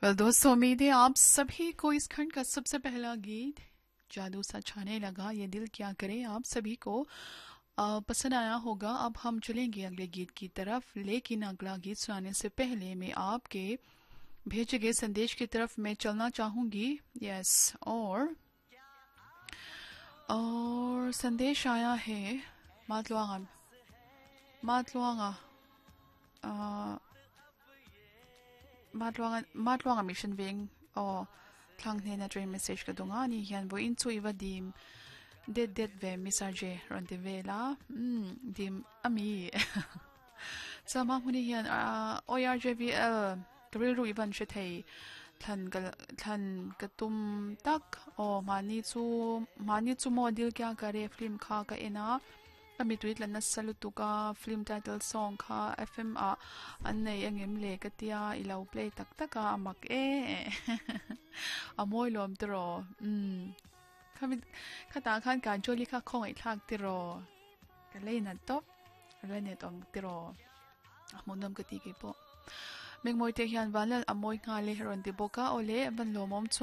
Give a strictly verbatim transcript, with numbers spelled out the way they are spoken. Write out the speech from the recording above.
Well दोस्तों, उम्मीद है आप सभी को इस खंड का सबसे पहला गीत जादू सा छाने लगा ये दिल क्या करे आप सभी को आ, पसंद आया होगा। अब हम चलेंगे अगले गीत की तरफ, लेकिन अगला गीत सुनाने से पहले मैं आपके भेजे गए संदेश की तरफ मैं चलना चाहूंगी। यस, और और संदेश आया है मातलुआंगा मातलुआंगा matluanga matluanga mission veng o thlang hne na train message ka dunga ni hian bo in chu iwa dim det det ve misarje ron te vela um dim ami sama huni hian O R J V L kril ru ivan she thei thlan ka thlan ka tum tak o mani chu mani chu mo dil kya kare film kha ka ena ami tuit lan na salutuka film title song kha F M a an nei angem le ka tia ilo play tak taka amak e amoi lom tro um khami khata khan kan choli kha khong ai thak tiro ka leina top le ne tom tiro munam ka ti ke po mengmoi te hian vanlal amoi nga le heron ti boka ole van lomom chuan.